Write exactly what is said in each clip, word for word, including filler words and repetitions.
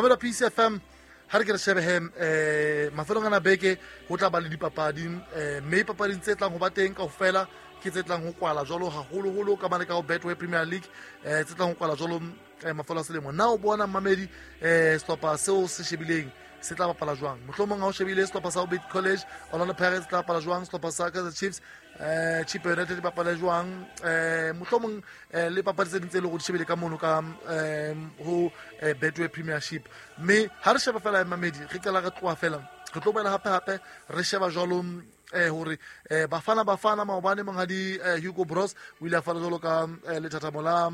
Mamela P C F M ha re ke re shebe he eh mafelong ana beke ho tla ba le dipapadi eh mme papading tse tlang ho ba teng kaofela ke tse tlang ho kwala jwalo haholoholo ka mane ka ho Betway Premier League eh tse tlang ho kwala jwalo mafelo a selemo. Na o bona mamedi eh sehlopha seo se shebileng se tla bapala jwang? Mohlomong ha o shebile sehlopha sa Orbit College, Orlando Pirates tla bapala jwang, sehlopha sa Kaizer Chiefs eh Chippa United bapala jwang, eh mohlomong le papadi tse ding tse leng hore di shebile ka mono ka eh ho Betway Premiership. Mme ha re sheba fela mamedi re qala re tloha fela re tlo boela hape hape re sheba jwalo eh hore eh bafana bafana maobane monghadi Hugo Broos o ile a fana jwalo ka lethathamo la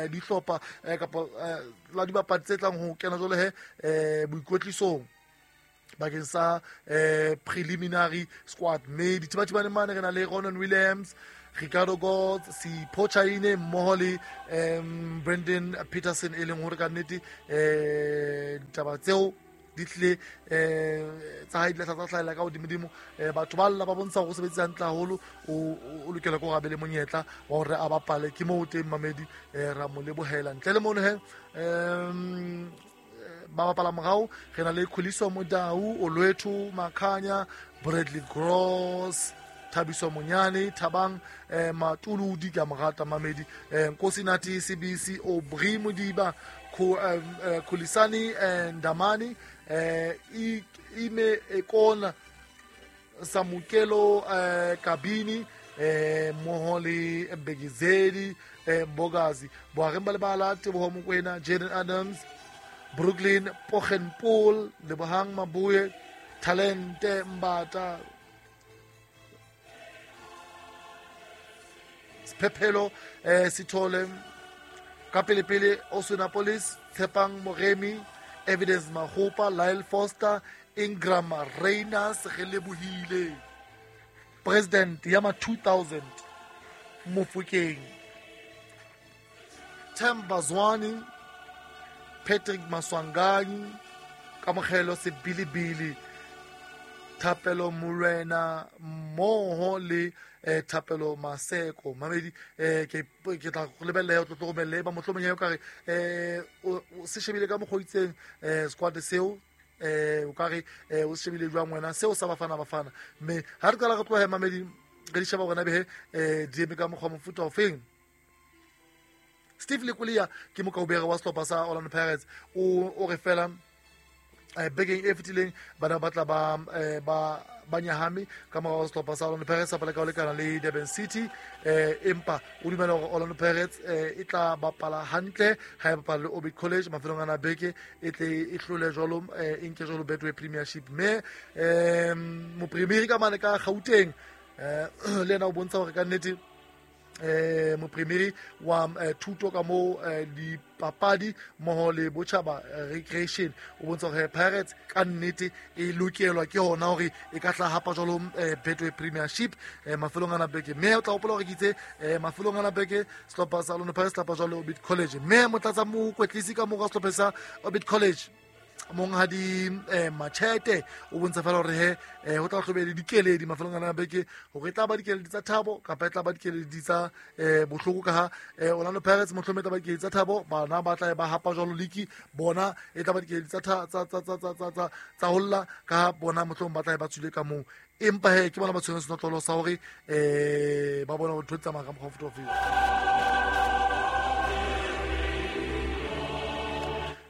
dihlopha kapa la dibapadi tse tlang ho kena jwalo he eh boikwetlisong bakeng sa eh preliminary squad. Mme dithibathibane mane re na le Ronan Williams, Ricardo Gods, Sipho Chaine mmoho le um Brandon Peterson e leng hore ka nnete eh ditaba tseo di tlile eh tsa hae di tla hlahella ka hodimodimo. Batho ba lla ba bontsha hore o sebetsa hantle haholo, o lokela ke hore a be le monyetla wa hore a bapale. Ke moo teng mamedi ra mo lebohela. Ntle le mono he um ba bapala morao re na le Khuliso Modau, Olwethu Makhanya, Bradley Gross, Thabiso Monyane, Thabang eh, Matuludi ka morata mamedi, eh, Nkosinati C B C, Aubrey Modiba, Khulisani Ndamani, eh, Ime Ekona, Samukelo eh, Kabini, eh, mmoho le Mbegizeli eh, Mbogazi, Boareng ba lebala, Teboho Mokoena, Jaden Adams, Brooklyn Pochenpool, Lebohang Mabuye, Talente Mbata, Pepelo eh, Sithole, ka pele pele Osunapolis, Tshepang Moremi, Evidence Mahopa, Lyle Foster, Ingram Reyners, re lebohile President ya ma two thousand Mofokeng, Themba Zwane, Patrick Maswanganyi, Kamogelo Sebilibili, Thapelo Morena mmoho le eh, Thapelo Maseko. Mamedi eh, ke ke tla go lebella o tlo romelle ba mohlomong ya ka re eh o se shebile ka mokgwa o itseng eh squad seo eh o ka re eh o se shebile jwang wena seo sa bafana bafana. Mme ha re qala re tloha mamedi re di sheba hore na behe eh di eme ka mokgwa mofuta ofeng. Steve Lekulia ke mokaubere wa sehlopha sa Orlando Pirates o o re fela eh bekeng e fetileng bana ba tla ba ba ba nyahame ka morao wa sehlopha sa Orlando Pirates sa pala ka ho lekana le Durban City, eh empa o dumela hore Orlando Pirates e tla bapala hantle ha e bapala le Orbit College mafelong ana beke e tle e hlole jwalo e nke jwalo Betway Premiership. Mme eh mopremieri ka mane ka Gauteng eh le yena o bontsha hore ka nnete eh mopremieri wa thuto ka mo dipapadi mmoho le botjhaba recreation o bontsha hore Pirates ka nnete e lokelwa ke hona hore e ka tla hapa jwalo Betway Premiership mafelong ana beke. Mme o tla hopola hore ke itse mafelong ana beke sehlopha sa Orlando Pirates tla jwalo Orbit College. Mme motlatsa mokwetlisi ka mora sehlopha sa Orbit College monghadi eh, Machete o bontsha fela hore he eh, ho tla hlobe le dikeledi mafelong ana beke hore e tla ba dikeledi tsa thabo kapa e tla ba dikeledi tsa eh, bohloko ka ha eh, Orlando Pirates mohlomong e tla ba dikeledi tsa thabo, bana ba tla ba hapa jwalo liki bona e tla ba dikeledi tsa tsa tsa tsa tsa tsa tsa holla ka ha bona mohlomong ba tla ba tswile ka moo. Empa he ke bona ba tshwanetse senotlolo sa hore eh ba bona hore ntho di tsamaya ka mokgwa o feta ofeng.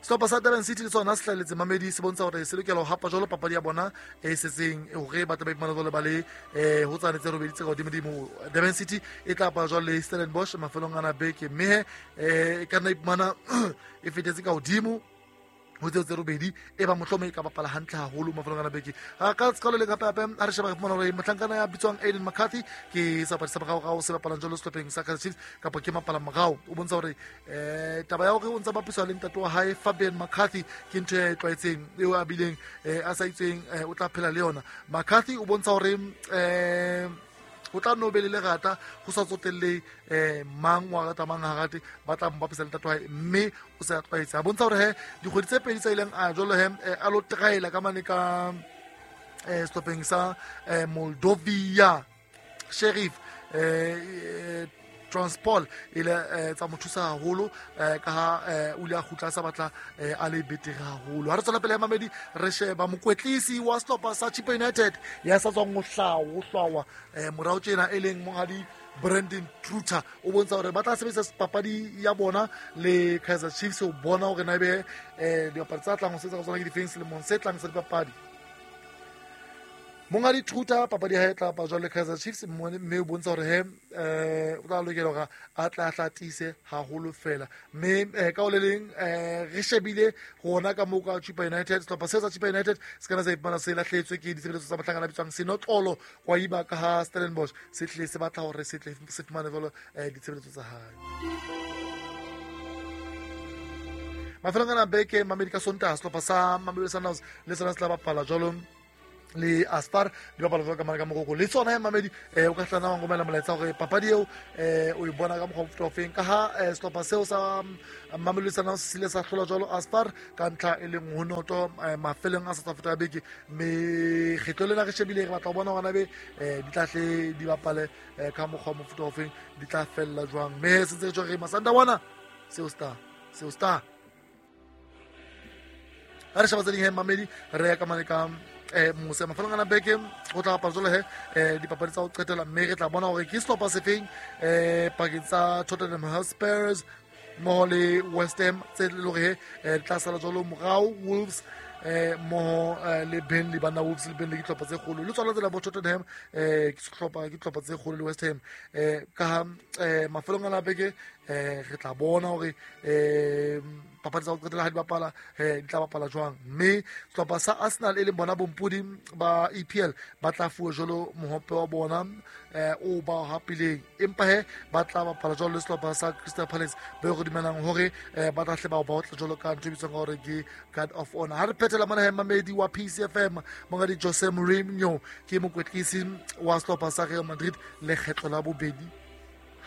Sehlopha sa Durban City le sona se hlahelletse mamedi se bontsha hore se lokela ho hapa jwalo papadi ya bona e setseng hore ba tla ba iphumana jwalo ba le eh ho tsane tse robedi tse ka hodimodimo. Durban City e tla bapala jwalo le Stellenbosch mafelong ana beke, mme eh e ka nna iphumana e fetetse ka hodimo ho tseo tse robedi e ba mohlomong e ka bapala hantle haholo mafelong ana beke. Ha ka sekolo le hape hape ha re sheba re fumana hore mohlankana ya bitswang Aiden McCarthy ke sebapadi sa morao se bapalang jwalo sehlopheng sa Kaizer Chiefs kapa ke mapala morao o bontsha hore eh taba ya hore o ntsa bapiswa le ntate wa hae Fabian McCarthy ke ntho e tlwaetseng eo a bileng a sa itseng o tla phela le yona. McCarthy o bontsha hore eh o tla no be le lerata ho sa tsotelle eh mang wa rata mang ha rate ba tla mo bapisa le ntate wa hae mme o se a tlwaetse. A bontsha hore he dikgwedi tse pedi tsa ileng a jwalo he a lo traela ka mane ka eh sehlopheng sa Moldovia Sheriff eh Transpol ile tsa mo thusa haholo ka ha o ile a kgutla sa batla a le betere haholo. Ha re tswela pele ya mamedi re sheba mokwetlisi wa sehlopha sa Chippa United ya sa tswang ho hlawa hlwawa morao tjena e leng monghadi Brandon Truter o bontsha hore ba tla sebedisa papadi ya bona le Kaizer Chiefs ho bona hore na ebe dipapadi tsa tlang ho sebetsa ka tsona ke difeng selemong se tlang sa dipapadi. Monghadi Truter papadi ya hae tla bapala jwalo le Kaizer Chiefs mme o bontsha hore he eh o tla lokela hore a tla tlatise haholo fela mme ka o le leng re shebile hona ka moo ka Chippa United sehlopha se sa Chippa United se kana sa ipana se lahletswe ke ditshebeletso tsa mohlankana a bitswang Sinoxolo kwa iba ka ha Stellenbosch se tle se batla hore se tle se fumane jwalo ditshebeletso tsa hae. Mafelong ana beke mamedi ka Sontaha sehlopha sa Mamelodi Sundowns le sona se tla bapala jwalo le Aspar di bapala jwalo ka mane ka Morocco le tsona ya mamedi eh o ka hlana wa ngomela molaetsa hore papadi eo eh o e bona ka mokgwa o fofeng ka ha sehlopha seo sa Mamelodi Sundowns se ile sa hlola jwalo Aspar ka ntlha e leng ho noto mafelong a South Africa beke mme kgetlo lena re shebile re batla ho bona hore be di tla hle di bapale ka mokgwa o mofuta ofeng di tla fella jwang mme se ntse re Masandawana seo star seo star ha re sheba tse ding he mamedi re ya ka mane ka eh mose mafelong ana beke go tla bapala jwalo he eh dipapadi tsa ho qetela mme re tla bona hore ke sehlopha sefeng eh pakeng tsa Tottenham Hotspurs mmoho le West Ham tse le hore he di tla sala jwalo morao Wolves eh mmoho le Burnley bana Wolves le Burnley ke dihlopha tse kgolo le tsona tsela bo Tottenham eh ke sehlopha ke dihlopha tse kgolo le West Ham eh ka eh mafelong ana beke eh re tla bona hore eh papadi tsa ho qetela ha di bapala eh di tla bapala jwang mme sehlopha sa Arsenal e leng bona bompodi ba E P L ba tla fuwa jwalo mohope wa bona eh o ba hapileng empa he ba tla bapala jwalo le sehlopha sa Crystal Palace ba go dumelang hore ba tla hle ba ba otla jwalo ka ntho e bitswang hore ke Guard of Honor. Ha re phethela mona he mamedi wa P C F M monghadi Jose Mourinho ke mokwetlisi wa sehlopha sa Real Madrid lekgetlo la bobedi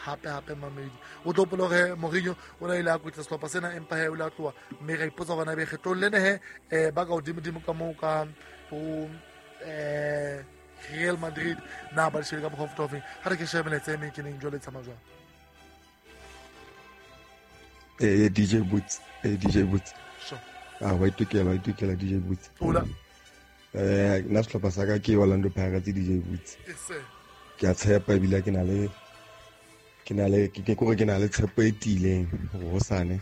hape hape mamedi o tlo hopola hore Mourinho o na ile a kwetla sehlopha sena empa he o ile a tloha mme ra ipotsa hore na be kgetlong lena he eh ba ka hodimodimo ka moo ka ho eh Real Madrid na ba shebe ka mokgwa o fofeng ha re ke shebe melaetsa e meng ke neng jwale e tsamaya jwang. Eh D J Boots eh D J Boots sure ah wa itukela wa itukela D J Boots hola eh nna sehlopha sa ka ke Orlando Pirates D J Boots yes sir ke a tshepa ebile ke na le ke na le ke kore ke na le tshepo e tiileng hore hosane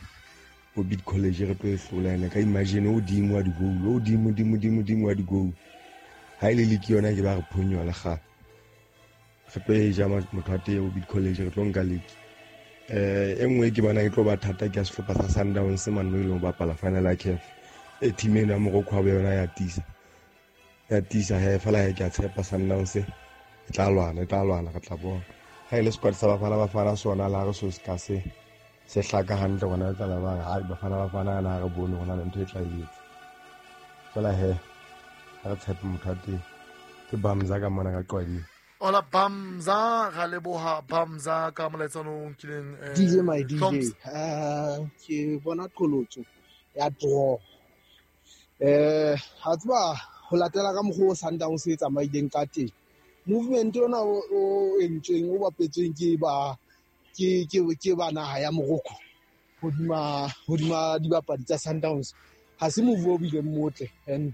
bo Bid College re tlo e hlola ene ka imagine o dimo wa di-goal o dimo dimo dimo dimo wa di-goal ha ile le ke yona ke ba re phonyola le kgale re tlo e ja motho wa teng o Bid College re tlo nka league eh e nngwe ke bona e tlo ba thata ke ya sehlopha sa Sundowns mane mo e leng ho bapala final ya C A F e team ena ya Morocco ha yona ya tisa ya tisa he fela he ke a tshepa Sundowns e tla lwana e tla lwana re tla bona. Ha ile squad sa Bafana Bafana sona la re so se ka se se hlaka hantle rona tsa la bang ha Bafana Bafana na re bone rona ntho e tla etsa fela he ha re tshepe motho wa teng ke Bamza ka mona ka Qwading. Hola Bamza ga leboha Bamza ka molaetsa o nkileng D J my D J eh ke bona qholotso ya draw eh ha tswa ho latela ka mokgwa o Sundowns e tsamaileng ka teng movement ona o entsweng o bapetsweng ke ba ke ke ke ba naha ya Morocco hodima hodima dibapadi tsa Sundowns ha se move o bileng motle and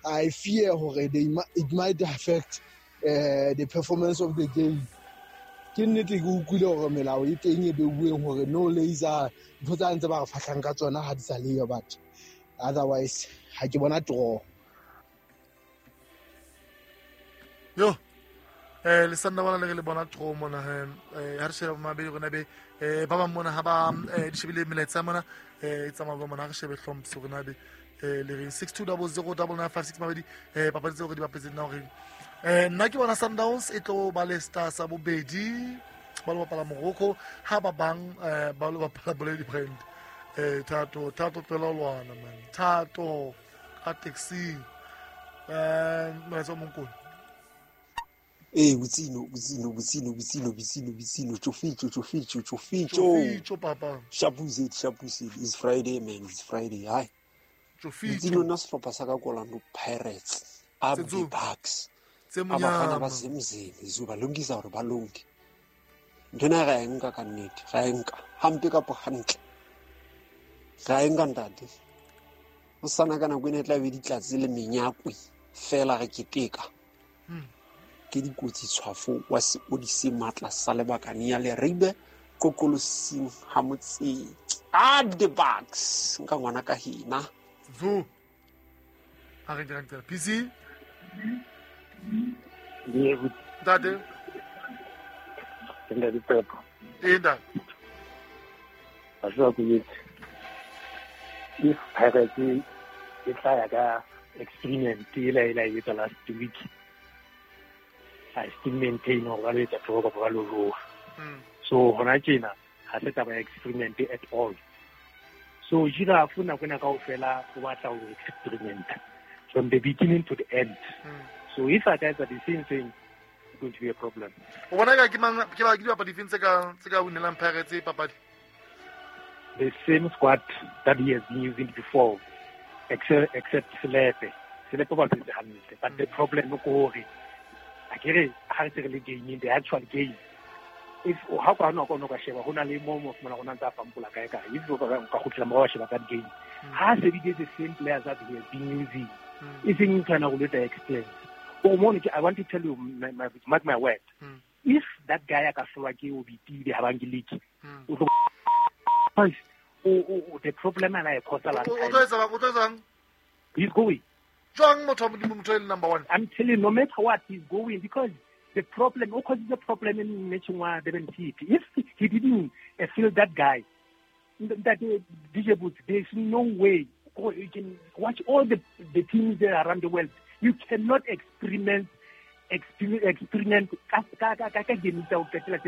I fear hore they it might affect uh, the performance of the game. Ke nnete ke utlwile hore melao e teng e beuweng hore no laser ntho tsa ntse ba re fahlang ka tsona ha di sa leyo but otherwise ha ke bona draw. Yo eh le sanna bana le le bona draw mona eh ha re sheba mabedi rona be eh ba bang mona ha ba di shebile melaetsa mona eh e tsamaya ba mona ha re shebe hlompse rona be eh le re six two zero zero nine nine five six mabedi eh papadi tseo re di bapetseng na hore eh nna ke bona Sundowns e tlo ba le star sa bobedi ba lo bapala Morocco ha ba bang ba lo bapala Boledi Brand eh thato thato pela lwana man thato ka taxi eh molaetsa o monkolo. Eh Butsino Butsino Butsino Butsino Butsino Butsino Choficho Choficho Choficho Choficho papa Shapusit Shapusit it's Friday man it's Friday hi Choficho Butsino nna sehlopha sa ka Orlando Pirates up the Bucks abafana basemzini izuba lungisa hore ba lonke Nthwena ra e nka ka nnete, ra e nka hampe kapa hantle. Ra e nka ntate. Ho sana ka nako ena e tla be ditlatse le menyakwe fela re keteka. Ke dikotsi tshwafo wa seodise matla sa lebakane ya Leribe kokolosing ha motse. Ah, the box nka ngwana ka hina. Zo. Ha re dirang tsela. P C. Yebo. Ntate. Ntate Pepo. Eh ntate. Ba ku yetse. If Pirates e tla ya ka experiment e la e la etsa last week. I still maintain hore ba lo etsa draw kapa ba lo jowa. So hona tjena ha se taba ya experiment at all. So Giraffe nako ena kaofela o batla ho experiment from the beginning to the end. Mm. So if I guys are the same thing, it's going to be a problem. O bona ka ke mang ke ba ke dibapadi difeng tse ka tse ka winelang Pirates papadi? The same squad that he has been using before, except except Selepe. Selepe ba tse hantle, but the problem ke hore akere ha re se re le game, the actual game. If ha ka no ka no ka sheba hona le mo mo fumana rona ntsa pampola kae kae if o ka ka khutlela morao sheba that game ha se di the same players that he has been using e seng kana go leta experience o mo I want to tell you my, my, mark my word, mm. if that guy a ka hlolwa ke o bitile ha bang ke league o tlo o the problem ana e cause last o tlo etsa o tlo etsang he's going jwang motho wa modimo motho e le number one. I'm telling you, no matter what he's going because the problem, of course, the problem in Mechungwa Durban City. If he didn't uh, feel that guy, that uh, D J Boots, there's no way. You can watch all the, the teams there around the world. You cannot experiment, experiment, experiment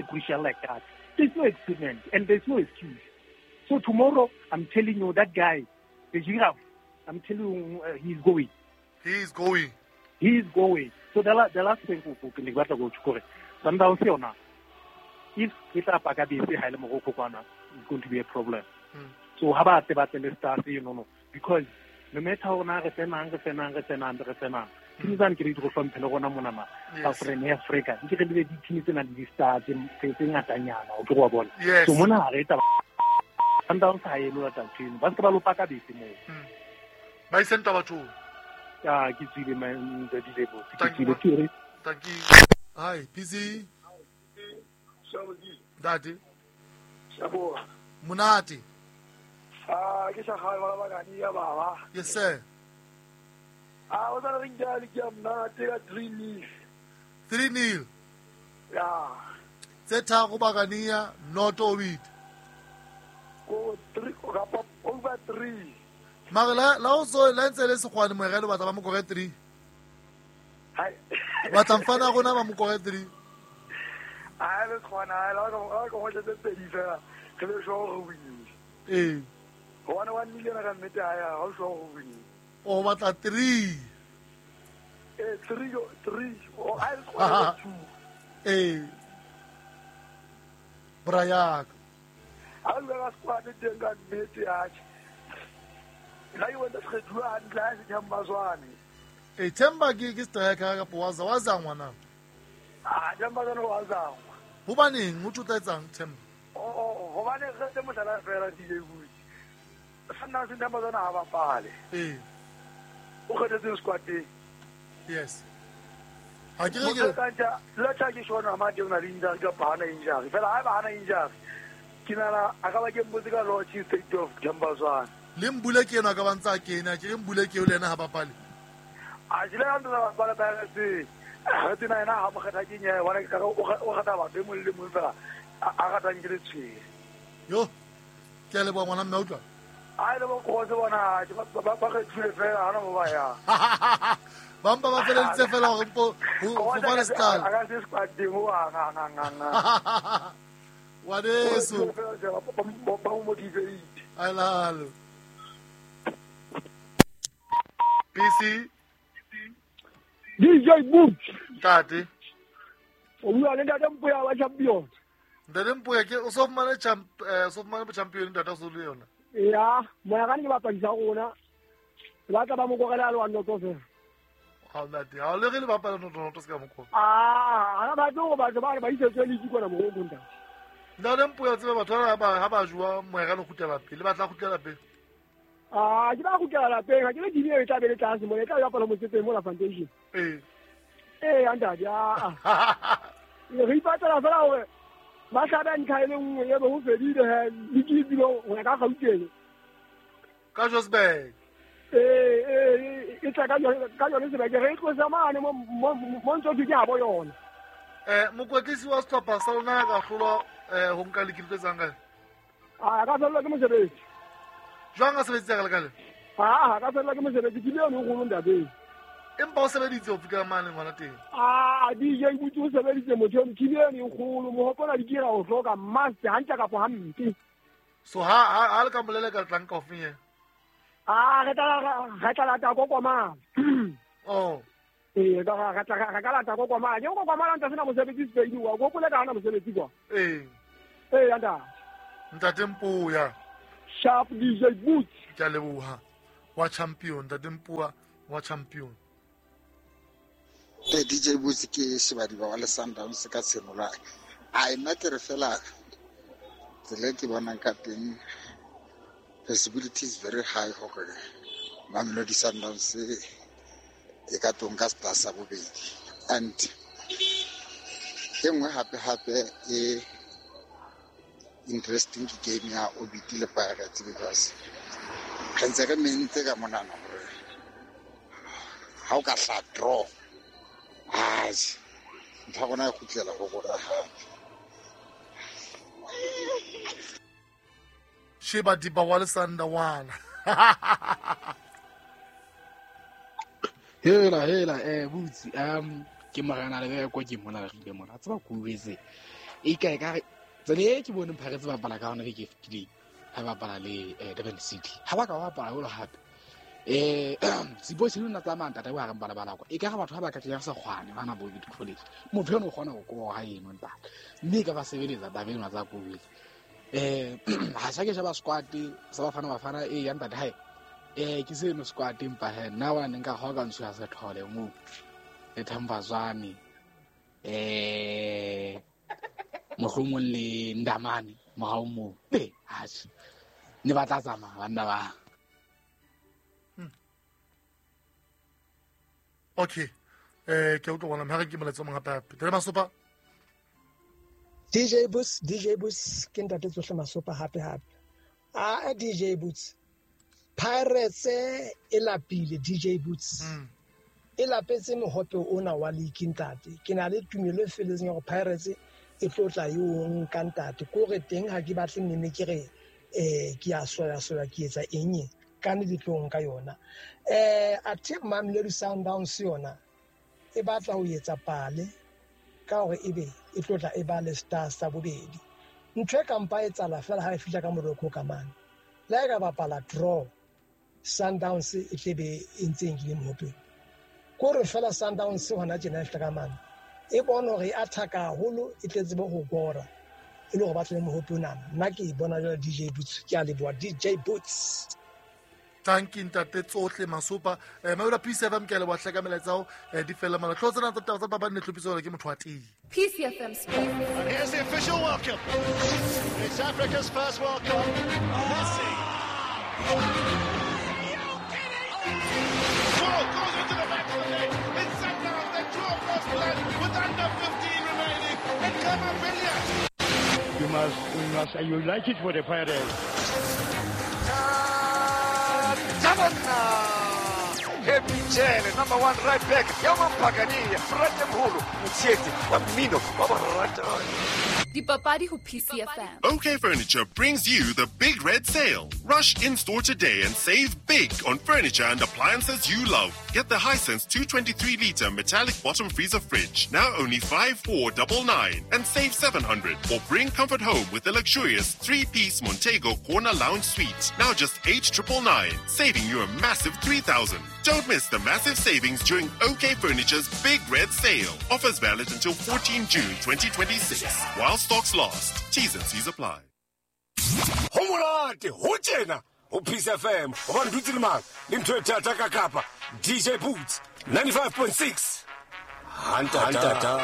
crucial like that. There's no experiment and there's no excuse. So tomorrow, I'm telling you, that guy, the Giraffe, I'm telling you, uh, he's going. He's going. He's going. So the, la, the last thing ke ne ke batla go tshukore Sundowns yona if ke tla paka bese ha ile moroko kwana it's going to be a problem. Mm. So ha ba tle ba tle le stars you know no because no matter how na re tsenang re tsenang re tsenang re tsenang team tsane ke re di go hlomphe le rona mona ma Southern Africa ke re le di team tsena di stars tse tse ngatanyana o ke go bona. So mona ha re taba Sundowns ha e lo lata team ba se ba lo paka bese mo ba isenta batho. Ah, ke tsile man the D J Boots. Ke tsile ke Thank you. Hi, P C. Dadi. Sabo. Monate. Ah, ke sa ga ba ba ya baba. Yes sir. Ah, o tla re nka le ke monate ka three nil. three nil. Ya. Tse tharo Bakania not Ovid. Go three kapa over three. Mara la la o so la ntse le sekgwane moerelo batla ba mo kore three. Hai. Batla mfana rona ba mo kore three. Ai le sekgwane la ka ka go tse pedi fela re be sure go win. Eh. One one million ka nnete ha ya ha sure go win. O batla three. Eh three three o ai le sekgwane two. Eh. Brayak. Ha le ka sekgwane teng ka nnete ya. La you went to kgethuwa hantle ha se Themba Zwane. Eh Themba ke ke striker ka waza waza ngwana. Ah Themba Zwane wa zangwa. Hobaneng o tlo etsang Themba? Oh oh hobane re tse mohlala fela D J Boots. Sanna se Themba Zwane ha bapale. Eh. O kgethetse squad teng. Yes. Ha ke re ke kanja la tla ke shona ma teng na le injury ka bana injury. Fela ha ba hana injury. Ke nana a ka ba ke mbotse ka Lord State of Themba Zwane. Le mbule ke ena ka ba ntsa kena ke re mbule ke le ena ha bapale. A jile ka ntsa bapale ba re se. Re tsena ena ha mo kgetha ke nyae bona ke ka o kgetha batho e mong le mong fela a ratang ke le tshwere. Yo. Ke le bo ngwana mme utlwa. A le bo go se bona ba ba kgethile fela ha na mo ba ya. Ba mpa ba feleditse fela hore mpo ho fumane style. A ka se squad teng ho nga nga nga nga. Wadeso. Ba mo motivate. Alalo. P C D J Boots. Ntate. O bua le ntate Mpoya wa champion. Ntate Mpoya ke o so fumane champ eh so fumane champion ntate o so le yona. Ya, moya ka ne bapadi sa rona. Ba tla ba mo korela le wa noto fela. Ha ntate, ha le re le bapala noto noto se ka mokgo. Ah, ha ba tlo ba ba ba isetse le itse kona mo go ntate. Ntate Mpoya tsebe batho ba ba ha ba jwa moera le kgutlela pele ba tla kgutlela pele. Ah, ke ba kgutlela lapeng, ha ke le dibile e tla be le tlase mo, e tla ya pala motsetseng mo la foundation. Eh. Eh, ntate, ah. Re ipatlela fela hore ba hlabe ntlha e le nngwe e be ho fedile he le ke dilo ho ya ka Gauteng. Ka Johannesburg. Eh, eh, e tla ka yone ka yone sebeke re tlosa mane mo mo ntso ke ha bo yona. Eh, mokwetlisi wa sehlopha sa lona ka hlolwa eh ho nka lekile tse tsang kae? Ah, ka fellwa ke mosebetsi. Jwang a sebeditse ka lekale? Ah, ka fellwa ke mosebetsi ke le yone o kgolo ntate. Empa o sebeditse ho fika mane ngwana teng. Ah, D J Butse o sebeditse motho eno ke le yone e kgolo mo hopola di kira o hloka master hantle kapa hampe. So ha ha le ka molela ka tlang ka ofeng ye? Ah, re tla re tla lata kokomala. Oh. Eh, ka re tla re ka lata kokomala. Ke kokomala ntse sena mosebetsi Spain wa go ka hana mosebetsi kwa. Eh. Eh, ntate. Ntate Mpoya. Sharp D J Butse. Ke a leboha. Wa champion, ntate Mpoya wa champion. Eh D J Butse ke shebadi ba wa le Sundowns ka tshenola. A nna ke re fela tsela ke bonang ka teng possibility is very high hore Mamelodi Sundowns e ka tonka star sa bobedi. And e nngwe hape hape e interesting ke game ya Orbit le Pirates because re ntse re mentse ka monana hore ha o ka hla draw ai ntho ya rona e kgutlela ho rona hape. Sheba diba wa le Sandawana. Hela hela eh Butse um ke morena le be ko ke mona re ile mona tseba go wetse e ka ka tsele e ke bone Pirates ba bapala ka hona ke fetileng ha ba bapala le Durban City ha ba ka ba bapala holo hape eh Sipho se lona tsamaya ntate wa re bala bala kwa e ka ga batho ha ba ka tla sa kgwane bana bo di college motho eno o kgona go koga eno ntate mme ka ba sebeletsa taba eno tsa go wetse eh ha sa ke shaba squad sa bafana bafana e ya ntate hae eh ke seno squad empa he nna wa neng ka hoka ntsho ya sethole mo le Thambazwane eh mohlomong le Ndamane morao mo be ha ne ba tla tsamaya banna ba. Okay eh ke utlwa bona mara ke moletso mong hape hape tere Masopa. D J Butse, D J Butse ke ntate tsohle Masopa hape hape. Ah D J Butse Pirates e lapile D J Butse. Mm. E lapetse mohope ona wa league ntate. Ke na le tumelo e feletseng ya gore Pirates e tlo tla e o nka ntate. Ko re teng ha ke batle nene ke re eh ke a soya soya ke etsa eng ka ne di tlo nka yona. Eh athe Mamelodi Sundowns yona e batla ho etsa pale ka hore ebe e tlo tla e ba le Stars sa bobedi. Ntho e kampa e tsala fela ha e fihla ka Morocco ka mane. Le ha e ka bapala draw Sundowns e tlebe e ntse e nkile mohope. Ko re fela Sundowns hona tjena e fihla ka mane. E bone hore e attack-a haholo e tle tsebe ho kora. E le hore ba tle mohope onana. Nna ke e bona jwale D J Butse, ke a leboha D J Butse. Thank you ntate tsohle Masopa. Eh Mamelodi P C F M ke a leboha hle ka melaetsa hao eh di fella mala. Tlotsa tsena tsa taba tsa papadi ne hlophiswa hore ke motho wa tee. P C F M Sports. And here's the official welcome. It's Africa's first World Cup. Messi. Ball goes into the back of the net. It's Sundowns. They draw first blood with under fifteen remaining. And Kamavinga. You must, we must, you like it for the Pirates. Happy Jele, number one right back. Yaman Pagani, Frate Mholo, Mutsieti, wa mmino, wa borata. Dipapadi ho P C F M. OK Furniture brings you the Big Red Sale. Rush in-store today and save big on furniture and appliances you love. Get the Hisense two twenty-three litre metallic bottom freezer fridge, now only five four nine nine and save seven hundred. Or bring comfort home with the luxurious three-piece Montego Corner Lounge Suite, now just eight nine nine, saving you a massive three thousand. Don't miss the massive savings during OK Furniture's Big Red Sale. Offers valid until fourteenth June twenty twenty-six. While stocks last. T's and C's apply. Ho monate, ho tjena, ho Peace F M, ho ba ntutse le mang, le ntho e thata ka kapa, D J Boots, ninety-five point six. Hantata.